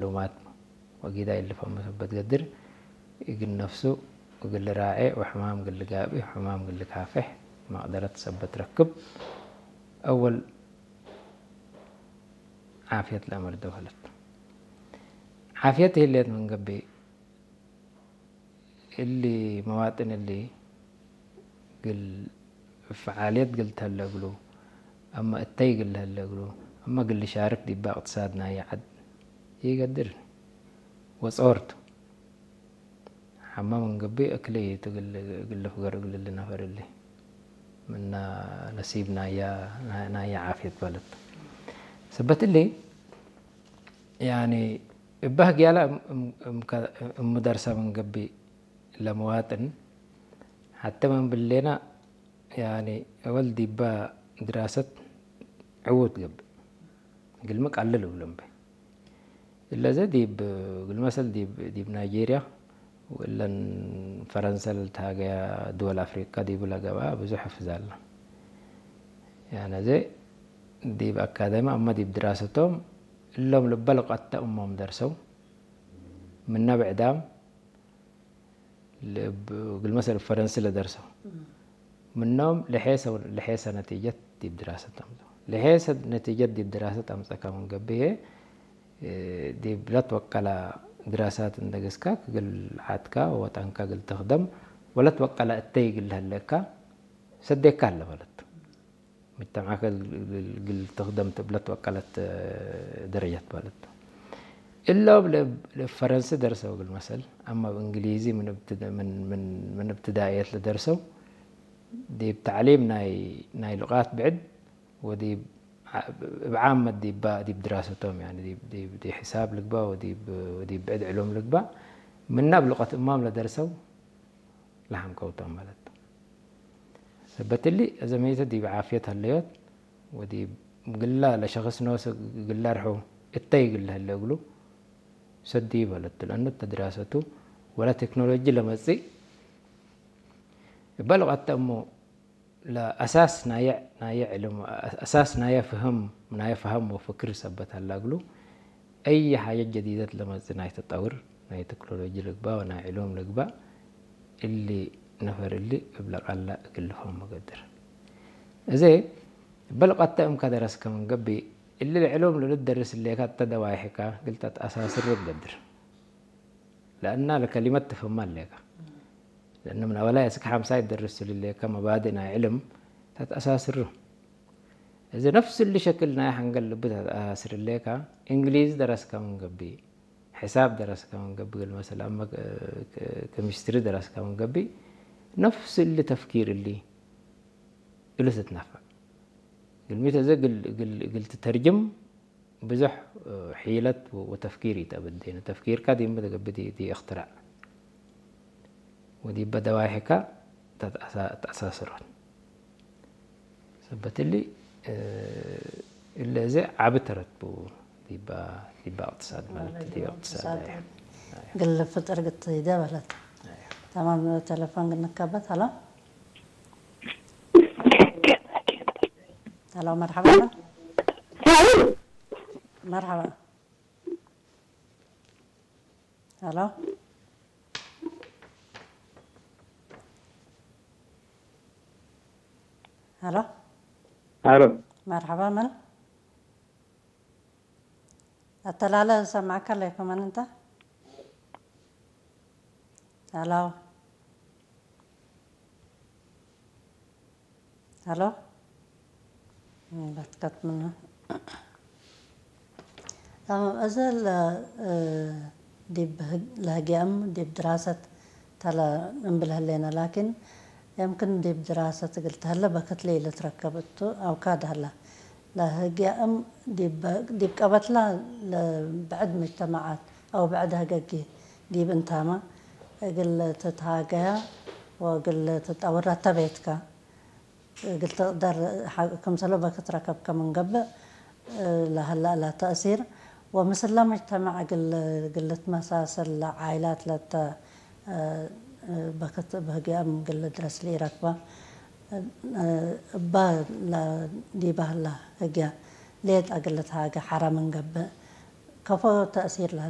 ሉማት ወጊዳ ይልፈሙ ሰበት ገድር እግል ነፍሱ እግል ራዔ ወሕማም እግል ጋብእ ወሕማም እግል ካፍሕ መቅደረት ሰበት ረክብ አወል ዓፍየት ለአመር ደኸለት። ዓፍየት ህሌት ምን ገብእ እሊ መዋጥን እሊ ግል ፈዓልየት ግል ተህለ እግሉ፣ አማ እተይ ግል ተህለ እግሉ፣ አማ ግል ሻርክ ዲባ እቅትሳድ ናየ ዐድ ይገድር ወጾርቱ። ሐማ ምን ገብእ እክለይቱ ግል፣ ግል ፍገር እግል እሊ ነፈር እሊ ምና ነሲብ ናያ፣ ናያ ዓፍየት በለት። ሰበት እሊ ያኒ እባህ ግያላ እም፣ እም፣ እም ከ-፣ እም ደርሰ ምን ገብእ ለመዋጥን ሐተ ምን ብሌና ያኒ አወል ዲባ ድራሰት ዕዉት ገብእ ግልሚ ቀልል እብሎም በ። እለዘ ዲብ፣ ግልመሰል ዲብ፣ ዲብ ናይጄርያ ወለን ፈረንሰ ለልትሃገያ ድወል አፍሪቃ ዲቡ ለገብአ ብዙሕ ሕፍዝ አለ። ያነዘ ዲብ አካደሚ አመ ዲብ ድራሰቶም እሎም ልበ ልቀተ እሞም ደርሰው ምነ ብዕዳም ልብ፣ ግልመሰል ፈረንሲ ለደርሰው ምኖም ለሔሰ፣ ለሔሰ ነቲጀት ዲብ ድራሰት አምጽኡ። ለሔሰ ነቲጀት ዲብ ድራሰት አምጸካ ምን ገብእ፣ እ፣ ዲብ ለትወቀላ ድራሳት እንደ ገስካ ክግል ዓድካ ወጠንካ ግል ትኽደም ወለትወቀላ እተይ ግል ለህለካ ሰዴካ አለ ማለት። ሙጅተማዕከ ግል፣ ግል ትኽደም ትብለት ወቀለት ደረጀት ማለት። እሎም ለ-፣ ለፈረንሲ ደርሰው ግል መሰል፣ አማ ብእንግሊዚ ምን እብትደ-፣ ምን፣ ምን፣ ምን እብትዳእየት ለደርሰው፣ ዲብ ተዕሊም ናይ፣ ናይ ሉቃት ብዕድ፣ ወዲብ ዓ-፣ እብ ዓመት ዲባ፣ ዲብ ድራሰቶም፣ ያኒ ዲብ፣ ዲብ፣ ዲብ ሕሳብ ልግባ፣ ወዲብ፣ ወዲብ ብዕድ ዕሉም ልግባ፣ ምናብ ሉቀት እማም ለደርሰው ለሐንከውቶም ማለት። ሰበት እሊ፣ አዘመይተ ዲብ ዓፍየት ሀለዮት፣ ወዲብ ግላ ለሸኽስ ኖሰ ግላ ርሑ እተይ ግል ሀለ እግሉ ሰዲ በለት። ለአኑ እተ ድራሰቱ ወለ ቴክኖሎጂ ለመጽእ፣ እበ ልቀተ እሞ ለአሳስ ናየ፣ ናየ ዕልም፣ አሳስ ናየ ፍህም፣ ናየ ፈሀም ወፍክር ሰበት ሀላ እግሉ፣ አይ ሓጀት ጀዲደት ለመጽእ ናይ ተጠውር፣ ናይ ቴክኖሎጂ ልግባእ ወናይ ዕሉም ልግባእ፣ እሊ ነፈር እሊ እብ ለቃላ እግል ልፈህሞ ገድር። እዜ በልቀተ እምከ ደረስከ ምን ገብእ፣ እሊ ለዕሉም ለልትደርስ እሌካ እተ ደዋይሕካ እግል ተትአሳስሩ እብ ገድር። ለአና ለከሊመት ትፍህማ እሌካ። ለእነ ምን አወላይ እስክ ሐምሳይ ትደርስ እሌካ መባድእ ናይ ዕልም ተትአሳስሩ። እዜ ነፍስ እሊ ሸክል ናይ ሐንገል ልብ ተትአሳስር እሌካ፣ እንግሊዝ ደረስከ ምን ገብእ፣ ሕሳብ ደረስከ ምን ገብእ፣ ግል መሰል አመ ክ-፣ ክ-፣ ኬሚስትሪ ደረስከ ምን ገብእ፣ ነፍስ እሊ ተፍኪር እሊ እሉ ትትነፈዕ። ግልሚት እዘ ግል፣ ግል፣ ግል ትተርጅም ብዙሕ ሒለት ወተፍኪር ኢተአበዴነ። ተፍኪርካ ዲመ ተገብእ ዲ፣ ዲ እክትራዕ ወዲበ ደዋይሕካ ተትአሳ-፣ ተአሳስሮን። ሰበት እሊ፣ እ፣ እለ እዘ ዓቢ ተረት ብኡ ዲባ፣ ዲባ እቅትሳድ ማለት፣ ዲባ እቅትሳድ፣ እቅትሳድ። አያ። አያ። ግል ፍጥር ግትይደ በለት። አያ። ተማም ቴሌፎን ግንከበት። ሀሎ። ሀሎ፣ መርሐባ። መርሐባ። ሀሎ። ሀሎ። ሀሎ። መርሐባ፣ መን? አተላለ ሰማዕካ ለይኮ፣ መን እንተ? ሀሎ። ሀሎ። በትከት ምኑ። አዎ፣ እዘ ለ-፣ እ፣ ዲብ ህግ-፣ ለህግያም ዲብ ድራሰት ተለ እንብል ህሌነ፣ ላኪን የምክን ዲብ ድራሰት እግል ተህለ በክት ለኢልትረከብ እቱ አውካድ ሀላ። ለህግያም ዲብ፣ ዲብ ቀበትላ ለብዕድ መጅተማዓት አው ብዕድ ህገጊ ዲብ እንታመ እግል ትትሃገያ ወእግል ትጠውራ ተቤትካ። እግል ትቅደር ሐ-፣ ክምሰሎ በክት ረከብከ ምን ገብእ፣ እ፣ ለሀላ እላ ተእሲር ወምስላ መጅተመዕ እግል፣ እግል ልትመሳሰል ለዓይላት ለተ፣ እ፣ እ፣ በክት እብ ህግያም እግል ልድረስ ለኢረክባ፣ እ፣ እባ ለዲባ ህላ ህግያ ሌጠ እግል ልትሃገ ሐራ ምን ገብእ፣ ከፎ ተእሲርላ ኣላ።